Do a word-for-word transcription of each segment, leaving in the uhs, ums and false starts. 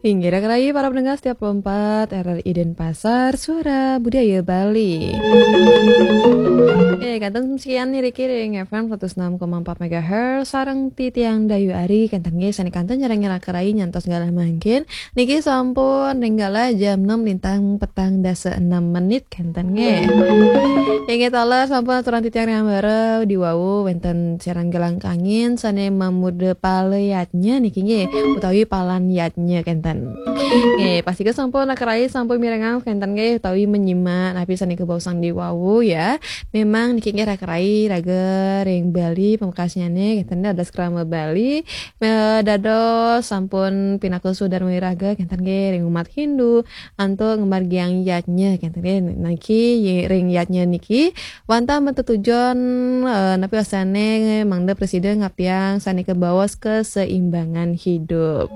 Inggih, raka rayi para pendengar setia empat R R I Denpasar, Suara Budaya Bali. Oke, kantun sekian niki ring F M seratus enam koma empat megahertz, sareng titiang Dayu Ari, kenten nggih, sane kantun nyarengin raka rayi nyantos galah mangkin. Niki sampun ring galah jam enam lintang petang dasa enam menit, kenten nggih. Inggih taler sampun aturang titiang ring ambara diwawu wenten siaran galang kangin sane mamurda pala yadnya niki nggih, utawi palan yadnya kenten. Nggih, pastika sampun raka rayi sampun mirengang kenten nggih, utawi menyimak napi sane kabaosang diwawu ya. Memang niki nggih raka rayi raga ring Bali pamekasnyane kenten nggih, dados krama Bali, eh, dados sampun pinaka sudharma wiraga kenten nggih ring umat Hindu, antuk ngamargiang yadnya kenten nggih, niki ye-, ring yadnya niki wantah matetujon, eh, napi wastane mangda prasida ngaptiang sane kabaos keseimbangan hidup.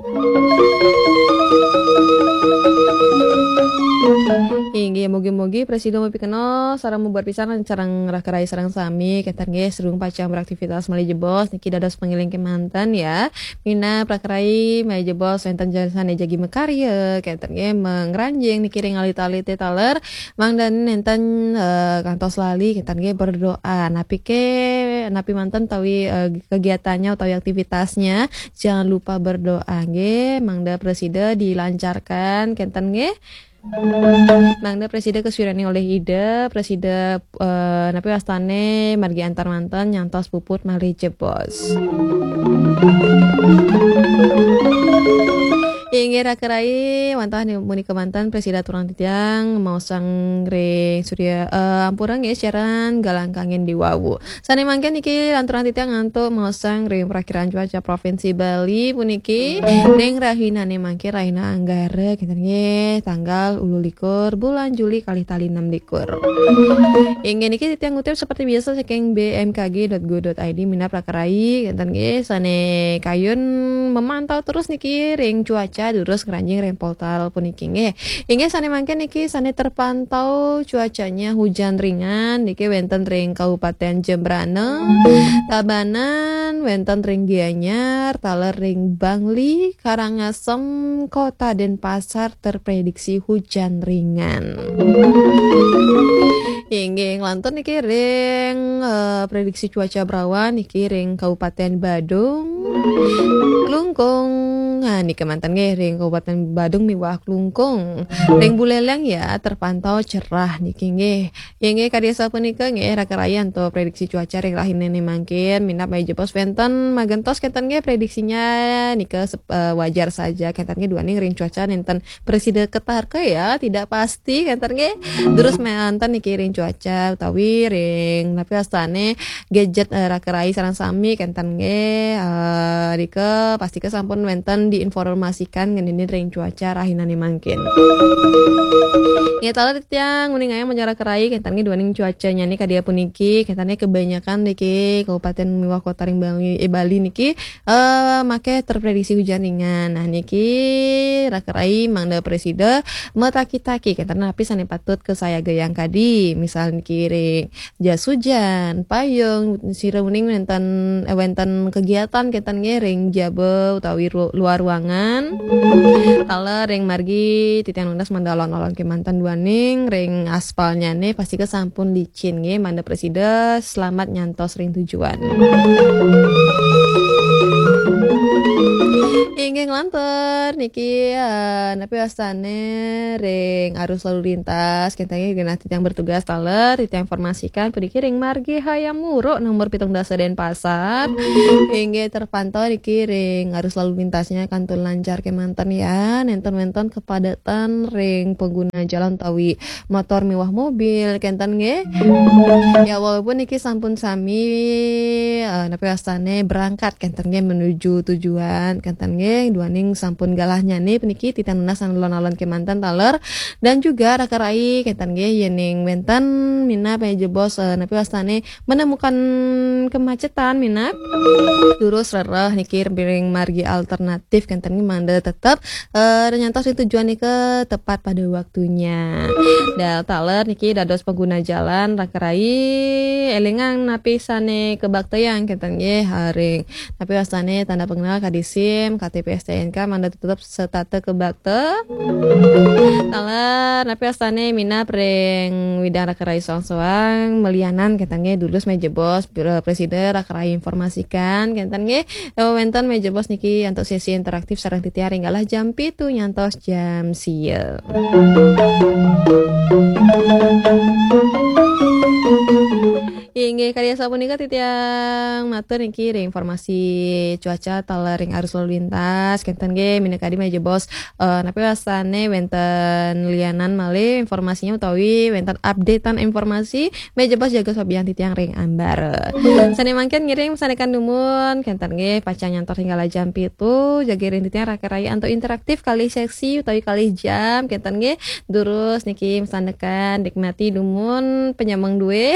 Inggih, mugi-mugi prasida mapikenoh sareng mabuat pisan sareng raka rayi sareng sami kenten nggih, sadurung pacang beraktivitas malih jebos niki dados pangiling kemanten ya. Minab raka rayi malih jebos wenten sane jagi makarya kenten nggih, mangranjing niki ring alit-alite taler, mangda nenten, eh, kantos lali kenten nggih berdoa. Napi ke, napi manten utawi, eh, kegiatannya utawi aktivitasnya, jangan lupa berdoa nggih, mangda prasida dilancarkan kenten nggih. Mangda prasida kasuirani olih Ida, prasida, eh, napi wastane margi antar manten nyantos puput malih jebos. Inggih raka rayi, wantah ni-, munika manten prasida aturang titiang maosang ring Surya, eh, ampura nggih, siaran galang kangin diwawu. Sane mangkin niki lanturang titiang antuk maosang ring Prakiraan Cuaca Provinsi Bali puniki ring rahinane mangkin rahina Anggara kenten nggih, tanggal ulu likur bulan Juli kalih tali enam likur. Inggih niki titiang ngutip seperti biasa saking B M K G dot go dot I D minab raka rayi kenten nggih, sane kayun memantau terus niki ring cuaca durus ngranjing ring portal puniki nggih. Inggih sane mangkin niki sane terpantau cuacanya hujan ringan niki wenten ring Kabupaten Jembrana, Tabanan, wenten ring Gianyar, taler ring Bangli, Karangasem, Kota Denpasar terprediksi hujan ringan. Inggih, nglantur niki ring, eh, prediksi cuaca berawan niki ring Kabupaten Badung, Klungkung. Nah, niki manten nggih ring Kabupaten Badung miwah Klungkung. Ring Buleleng ya terpantau cerah niki nggih. Inggih kadi sapunika nggih raka rayi antuk prediksi cuaca ring rahinane mangkin minab malih jebos wenten magentos kenten nggih prediksinya nika sep-, eh, wajar saja kenten nggih duaning ring cuaca nenten prasida katarka ya, tidak pasti kenten nggih. Durus manten niki ring cuaca utawi ring napi wastane gadget, eh, raka rayi sareng sami kenten nggih, eh, rika pastika sampun wenten diinformasikan ngeninin ring cuaca rahinane mangkin. Nggih taler titiang nguningayang manjara raka rayi kenten nggih duaning cuacanyane kadi apuniki kenten nggih kebanyakan niki kabupaten miwah kota ring Bali, eh, Bali niki eh, make terprediksi hujan ringan. Nah, niki raka rayi mangda prasida mataki-taki kenten napi sane patut kasayagayang kadi. Misal niki ring jas hujan, payung, sira uning wenten, eh, wenten kegiatan kenten nggih ring jaba utawi ru-, luar ruangan. Taler ring margi titiang nunas mangda alon-alon kemanten duaning ring aspalnyane pastika sampun licin nggih, mangda prasida selamat nyantos ring tujuan. Inggih nglantur niki, eh, napi wastane ring arus lalu lintas, kenten nggih genah titiang bertugas taler, titiang informasikan puniki ring margi Hayam Wuruk nomor pitung dasa Denpasar. Inggih terpantau niki ring arus lalu lintasnya kantun lancar kemanten ya, nenten wenten kepadatan ring pengguna jalan utawi motor miwah mobil kenten nggih. Ya walaupun niki sampun sami, eh, napi wastane berangkat kenten nggih menuju tujuan kenten nggih, duaning sampun galahnyane puniki titiang nunas alon-alon kemanten taler dan juga raka rayi kenten nggih yening wenten minab malih jebos, eh, napi wastane menemukan kemacetan minab. Durus rereh niki ring margi alternatif kenten Kenten mangda tetep eh, nyantos ring tujuan nika tepat pada waktunya. Dan taler niki dados pengguna jalan raka rai, elingang napi sane kabaktayang kenten nggih, ha, ring napi wastane tanda pengenal, kadi SIM, K T P, S T N K, mangda tetep setata kabakta. Taler napi wastane minab ring widang raka rai soang-soang, malianan kenten nggih, durus meja bos, pre-, presida raka rai informasikan kenten nggih. Eh, wenten meja bos niki antuk sesi interaktif sareng titiang ring galah jam pitu nyantos jam sia. Inggih, kadi asapunika titiang matur niki ring informasi cuaca taler ring arus lalu lintas. Kenten nggih, minakadi meja bos, eh, napi wastane wenten lianan malih informasinya utawi wenten updatean informasi, meja bos jaga sobian titiang ring ambara. Sane mangkin ngiring masandekan dumun, kenten nggih, pacang nyantos ring galah jam pitu, jaga ring titiang raka rai antuk interaktif kalih sesi utawi kalih jam, kenten nggih. Durus niki masandekan, nikmati dumun panyameng due.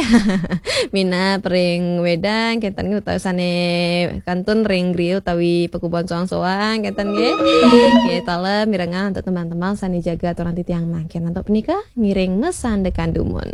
Minab ring wedang, kenten nggih, utawi sane kantun ring griya utawi pakubon soang-soang, kenten nggih. Nggih, taler mirengang antuk tembang-tembang sane jaga aturang titiang mangkin. Antuk punika, ngiring masandekan dumun.